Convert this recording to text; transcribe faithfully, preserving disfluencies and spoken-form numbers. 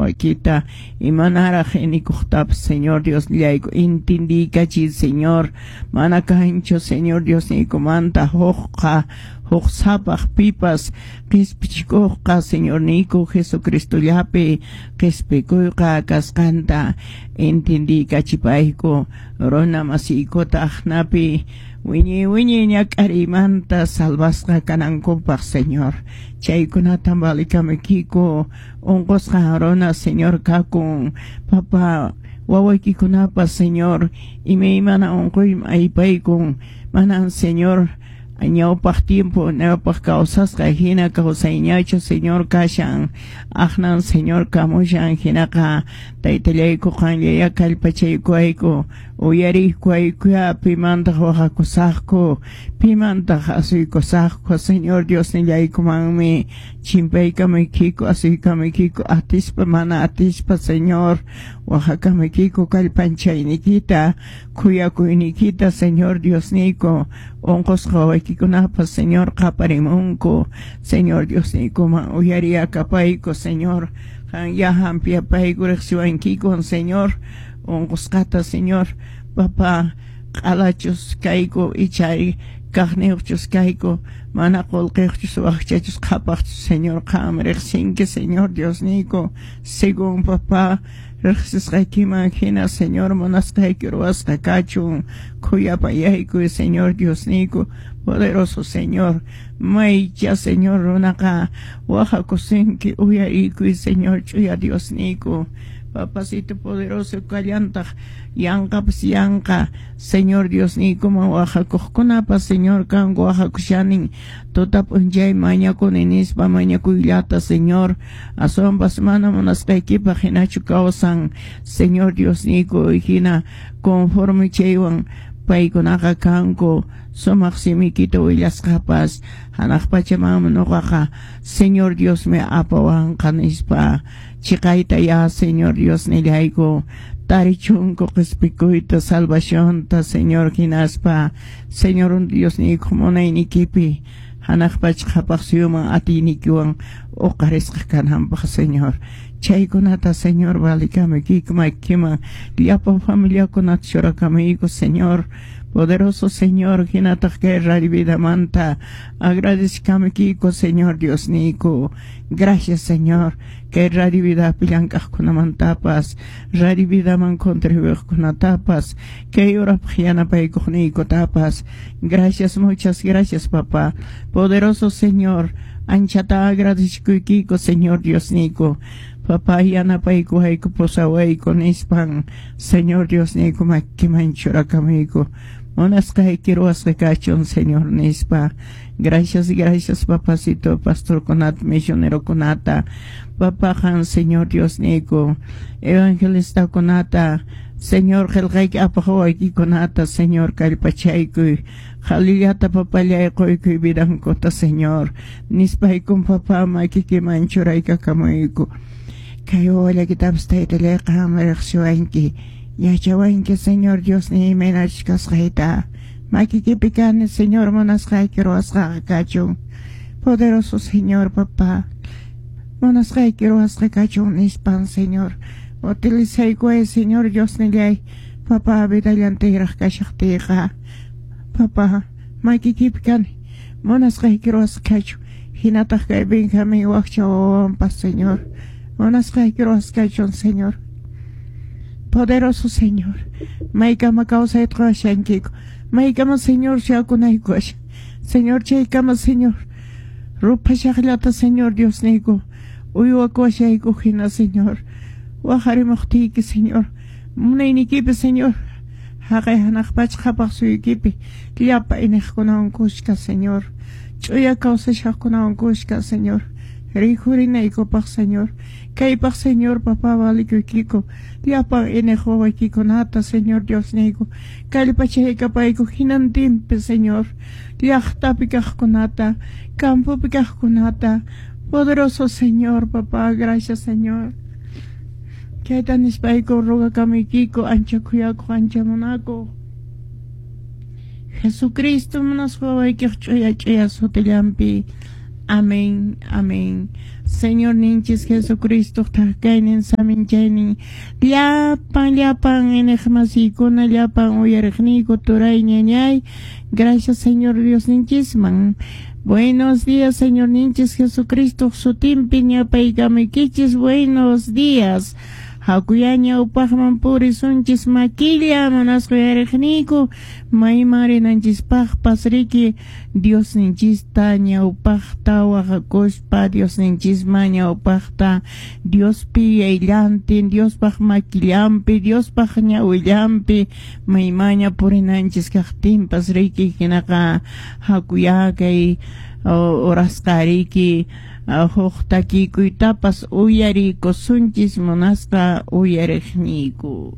wawakita imanaraq inikuqtapas Señor Dios nillayku intindiykachiy Señor mana kanchu Señor Dios niykumanta hukqa huk sapaq pipas qispichikuqqa Señorniyku Jesucristollapi qispikuyqa kasqanta intindiykachispayku runa masiykuta aqnapi wiñay wiñay ñak'ariymanta salvasqa kanankupaq Señor chaykunata valikamaykiku unqusqa runa Señor kakun papa wawaykikunapas Señor imaymana unquyman aypaykun manan Señor ñawpaq tiempo ñawpaq kawsasqa hina kawsayñachu Señor kashan aqnan Señor kamushan hinaqa taytallayku qanllaya kallpachaykuwayku uyariykuwaykuya pimantaq waqakusaqku pimantaq asuykusaqku Señor Dios nillaykumanmi chimpaykamaykiku asuykamaykiku atispa mana atispa Señor waqakamaykiku kallpanchayniykita khuyakuyniykita Señor Diosniyku unqusqa wawaykikunapas Señor qaparimunku Señor Diosniykuman uyariyakapayku Señor qanya hampiyapayku riqsiwankikun Señor unqusqata Señor papa q'alachus kayku ichari kaqniyuqchus kayku mana qullqiyuqchus wakchachus qhapaqchus Señor qam riqsinki Señor Diosniyku según papá riqsisqaykiman hina Señor munasqayki ruwasqa kachun khuyapayaykuy Señor Diosniyku poderoso Señor maycha Señor runaqa waqakusinki uyariykuy Señor ch'uya Diosniyku Papacito poderoso kallantaq yanqapas yanqa Señor Diosniykuman waqakuqkunapas Señor kanku waqakushanin tuta p'unchay mañakuni nispa mañakuyllata Señor aswanpas mana munasqaykipaq hinachu kawsan Señor Diosniyku hina conforme chaywan paykunaqa kanku sumaq simikita willasqapas hanaq pachamanmi nuqaqa Señor Diosmi apawanqa nispa chiqayta ya Señor Dios nillayku tarichunku qispikuyta salvacionta Señor hinaspa Señor Diosniyku munaynikipi hanaq pacha qhapaq suyuman atiynikiwan uqarisqa kananpaq Señor chaykunata Señor valikamaykiku makiman llapa familiakunata churakamayku Señor poderoso Señor hinataq kay Radio Vidamanta agradezcamikiko Señor Diosniyku gracias Señor kay Radio Vidapi llank'aqkunamantapas Radio Vidaman contribuiqkunatapas kay urapaq yanapaykuqniykutapas gracias muchas gracias papá poderoso Señor anchata agradezcuykiko Señor Diosniyku papá yanapaykuwayku pusawayku nispan Señor Diosniyku makiman churakamayku munasqayki ruwasqa kachun Señor nispa gracias gracias papacito pastorkunata misionerokunata papá qan Señor Diosniyku evangelistakunata Señor qillqayki apaq wawaykikunata Señor kallpachaykuy qhalillata papallay quykuy vidankuta Señor nispaykum papá makikiman churaykakamuyku kay wawallakitapas taytallay qam riqsiwanki yachawanki Señor Diosniy imaynachus kasqayta makikipi kani Señor munasqayki ruwasqaqa kachun poderoso Señor papá munasqayki ruwasqa kachun nispan Señor utilizaykuway Señor Diosnillay papá vidallantayraq kashaqtiyqa papá makikipi kani munasqayki ruwasqa kachun hinataq kay Benjamín wakcha wawanpas Señor munasqayki ruwasqa kachun Señor poderoso Señor maykama kawsayta quwashankiku maykama Señor shakunayku kashan Señor chaykama Señor ruphashaqllata Señor Diosniyku uywakuwashayku hina Señor waqarimuqtiyki Señor munaynikipi Señor haqay hanaq pacha qhapaq suyuykipi llapa iniqkunawan kushka Señor ch'uya kawsashaqkunawan kushka Señor rikhurinaykupak Señor kaypaq Señor papá valikuykiku llapan iniq wawaykikunata Señor Diosniyku kallpachaykapayku hinantinpi Señor llaqtapi kaqkunata campopi kaqkunata poderoso Señor papá gracias Señor kayta nispayku rogakamaykiku ancha khuyakuq ancha munakuq Jesucristo munasqa wawaykiq ch'uya ch'uya sutillanpi. Amén, amén. Señorninchis Jesucristo thakaynin saminchaynin llapan llapan iñiqmasiykuna llapan uyariqniyku turay ñañay. Gracias, Señor Diosninchisman. Buenos días, Señorninchis Jesucristo sutinpi ñapaykamuykichis. Buenos días. Hakuya ñawpaqman purisunchis makilla munasqa uyariqniyku mayman rinanchispaqpas riki Diosninchista ñawpaqta waqakuspa Diosninchisman ñawpaqta Diospi yayllantin Diospaq makillanpi Diospaq ñawillanpi maymaña purinanchis kaqtinpas riki hinaqa hakuya kay horasqa riki huk takikuytapas uyarikusunchis munasqa uyariqniyku.